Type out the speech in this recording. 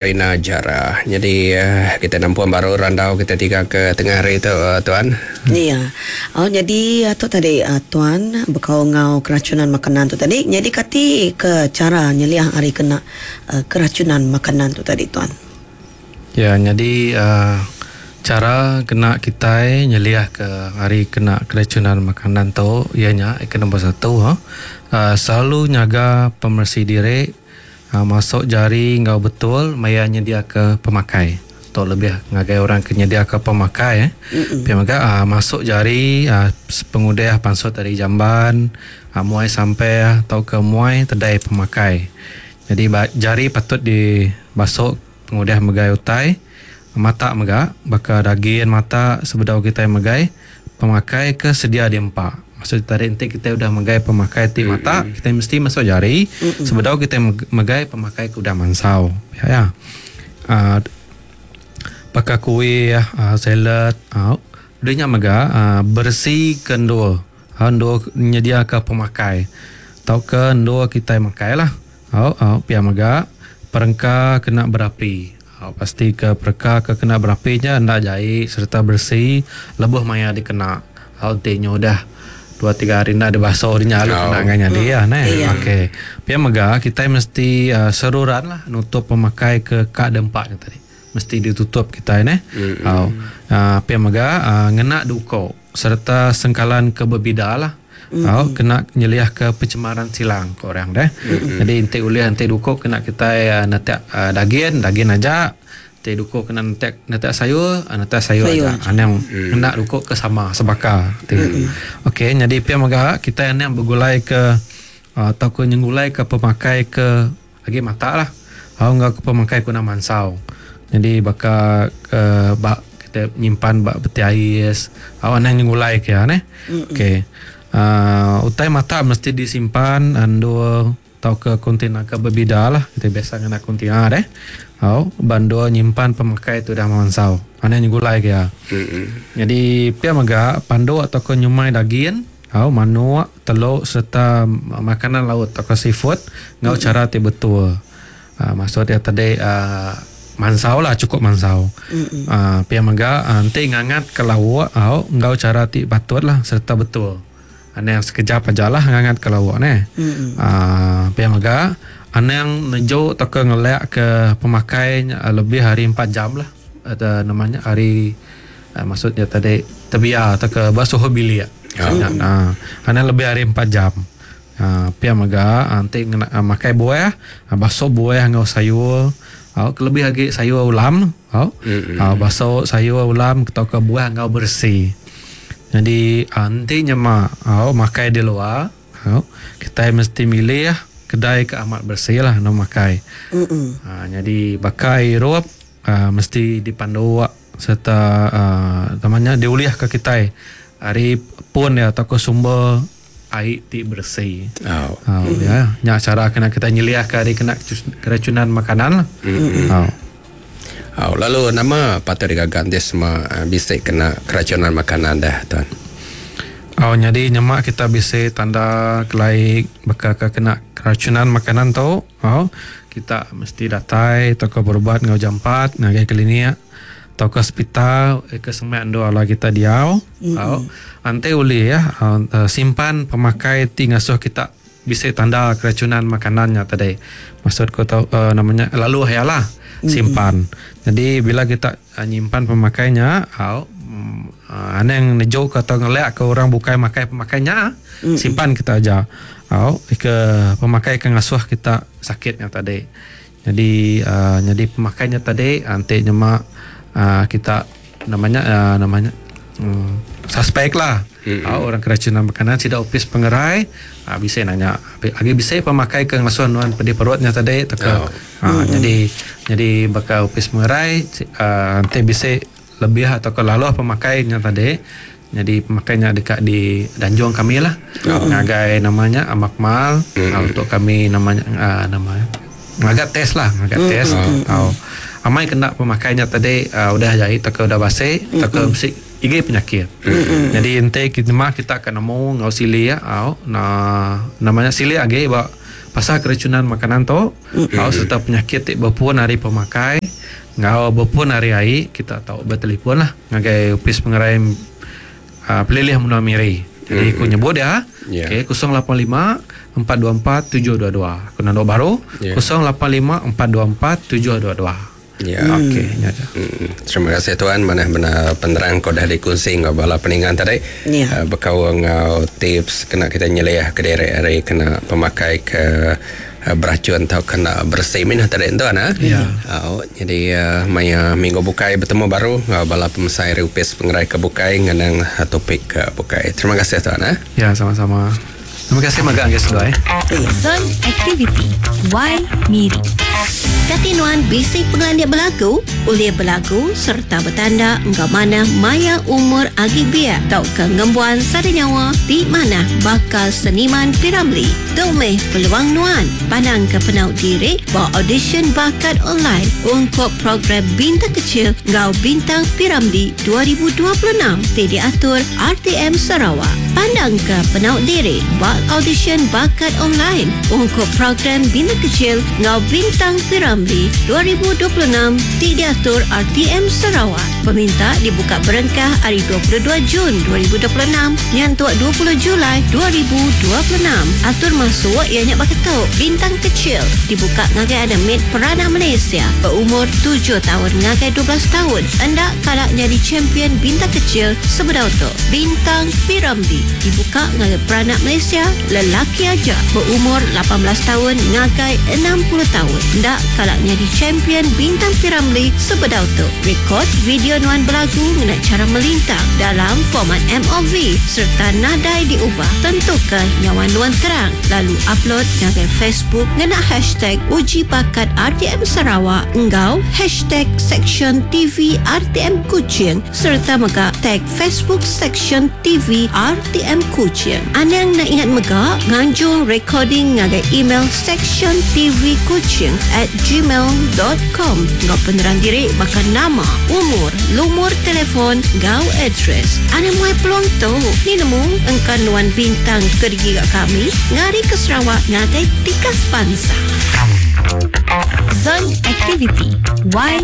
Rina Jara. Nyadi kita nampung baru randau kita tiga ke tengah hari tu tuan. Iya. Oh nyadi tu tadi tuan bekaul enggau keracunan makanan tu tadi. Nyadi kati ke chara nyeliah ari kena keracunan makanan tu tadi tuan? Ya nyadi chara kena kitai nyeliah ke ari kena keracunan makanan tu iya nya ke nombor satu selalu nyaga pemeresi diri. Masuk jari enggau betul maya nyediaka pemakai. Tu lebih ngagai orang ke nyediaka pemakai. Pia mega masuk jari sepengudah pansut ari jamban, muai sampah tauka muai tedai pemakai. Nyadi jari patut dibasuk pengudah megai utai. Mata mega baka dagin mata sebedau kitai megai pemakai ke sedia diempa. Maksud tadi enti kitai udah megai pemakai ti mata kitai mesti masuk jari sebedau kitai megai pemakai ke udah mansau. Pia iya. uhh Baka kuih uhh salad au udah nya mega uhh beresi ke endur endur nyediaka pemakai tauka endur kitai makai lah. Au au pia mega perengka kena berapi. Au pasti ke perengka ke kena berapi nya enda jai sereta beresi lebuh maya dikena. Au enti nya udah dua tiga hari enda dibasu nya lalu kena ngan nyadi ah neh. Okey. Pia mega kitai mesti seruran lah nutup pemakai ke ka dempa nya tadi. Mesti ditutup kitai neh. Au pia mega ngena duko sereta sengkalan ke bebida lah. Au kena nyeliahka pencemaran silang ku orang deh. Jadi enti ulih enti duku kena kitai netak dagin, dagin aja. Enti duku kena netak netak sayur, netak sayur aja. Anang ngena duku ke sama sebaka ti. Okey nyadi pia mega kitai anang begulaika tauka nyengulaika pemakai ke agi mata lah. Au enggau ke pemakai ke udah mansau. Nyadi baka ke ba kita nyimpan ba peti ais au anang nyengulai ke iya neh. Okey uhh utai mata mesti disimpan endur tauka kontena ke bebida lah. Kita biasa ngena kontena deh. Au ba endur nyimpan pemakai ti udah mansau. Anang nyengulai ke iya. Nyadi pia mega panduk tauka nyumai dagin Au, manuk, teluk sereta makanan laut tauka seafood enggau chara ti betul. Aaa maksud iya tadi aaa mansau lah chukup mansau. Aaa pia mega enti ngangatka lauk au enggau chara ti patut lah sereta betul. Anang sekejap aja lah ngangatka lauk neh. Aaa pia mega anang neju tauka ngelakka pemakai nya lebih ari empat jam lah nama nya ari Maksud iya tadi tebiar tauka ba suhu bilik. Nya uhh anang lebih ari empat jam. Uhh pia mega enti ngena makai buah basu buah enggau sayur au kelebih agi sayur ulam au basu sayur ulam tauka buah enggau beresi. Nyadi enti nyema au makai di luar au kitai mesti milih kedai ke amat beresi lah anu makai. Uhh nyadi baka irup uhh mesti dipanduk. Sereta nama nya diulihka kitai ari pun iya tauka sumber ai ti beresi. Au ya nya chara kena kitai nyeliahka ari kena keracunan makanan lah. Au. Au lalu nama patut digaga enti sema bisi kena keracunan makanan deh tuan? Au nyadi nyema kita bisi tanda kelai baka ke kena keracunan makanan tu au kita mesti datai tauka berubat enggau jampat ngagai klinik. Tauka sepital ke semak endur alai kita diau. Au enti ulih simpan pemakai ti ngasuh kita bisi tanda keracunan makanan nya tadi. Maksud ku tu nama nya lalu iya lah simpan. Jadi bila kita nyimpan pemakai nya au anang neju ka atau ngelak ka orang bukai makai pemakai nya simpan kita aja. Au ke pemakai ke ngasuh kita sakit nya tadi. Nyadi uhh nyadi pemakai nya tadi enti nyema uhh kita nama nya uhh nama nya uhh suspek lah au orang keracunan makanan sida opis pengerai uhh bisi nanya agi bisi pemakai ke ngasuh nuan pedih perut nya tadi tauka uhh nyadi nyadi baka opis pengerai uhh enti bisi lebih tauka laluh pemakai nya tadi nyadi pemakai nya deka didanjung kami lah ngagai nama nya makmal untuk kami nama nya uhh nama ngaga test lah ngaga test au amai kena pemakai nya tadi uhh udah jai tauka udah basi tauka bisi igi penyakit. Nyadi enti nyema kita ka nemu enggau silik au nama nya silik agi ba. pasal keracunan makanan tu mm-hmm. serta penyakit ti bepun ari pemakai enggau bepun ari ai kita tau betelefon lah ngagai Opis Pengerai uh, Pelilih Menua Miri. Jadi aku nyebut ya. Yeah. Okey 085 424 722. Aku nando baru yeah. 085 424 722. Ya. Okey, nya aja. Terima kasih tuan mana mana penerang kau dah dikongsi ngau bala peningan tadi. Ya. Bekau ngau tips kena kita nyeliah ke diri hari kena pemakai ke beracun atau kena bersih minah tadi tuan ah. Ya. Oh, jadi maya minggu bukai bertemu baru ngau bala pemesai Opis Pengerai ke bukai ngenang topik ke bukai. Terima kasih tuan ah. Ya, sama-sama. Terima kasih magang guys sudah eh. Zon Aktiviti Y Miri. Katinuan bisi pengelandik berlagu, oleh berlagu serta bertanda engkau mana maya umur agi biak tau ke ngembuan sada nyawa di mana bakal seniman Piramli. Tumeh peluang nuan pandang ke penau diri bawa audition bakat online untuk program Bintang Kecil Ngau Bintang Piramli 2026 ti diatur RTM Sarawak. Pandang ke penau diri bawa audition bakat online untuk program Bintang Kecil Ngau Bintang Piramli 2026 ti diatur RTM Sarawak. Peminta dibuka berengkah hari 22 Jun 2026 nyantuk 20 Julai 2026. Atur masuk ianya baketuk Bintang Kecil dibuka ngagai ada mid Perana Malaysia berumur 7 tahun ngagai 12 tahun. Endak kalak jadi champion Bintang Kecil sebedau tu. Bintang Piramli dibuka ngagai Peranak Malaysia lelaki aja berumur 18 tahun ngagai 60 tahun. Endak kalak jadi champion Bintang Piramli sebedau tu. Rekod video nuan berlagu ngena cara melintang dalam format MOV serta nadai diubah. Tentukan nyawa nuan terang lalu upload ngagai Facebook ngena hashtag uji bakat RTM Sarawak engau hashtag section TV RTM Kuching serta mega tag Facebook section TV RTM Kuching. Anang nak ingat mega nganjung recording ngagai email section TV Kuching at gmail.com. Ngau penerang diri bakal nama, umur, lumur telefon, gau address. Anang muai peluang tu. Ni nemu engkan nuan bintang kerja kat kami ngari ke Sarawak ngagai tikas bangsa. Zon Aktiviti Y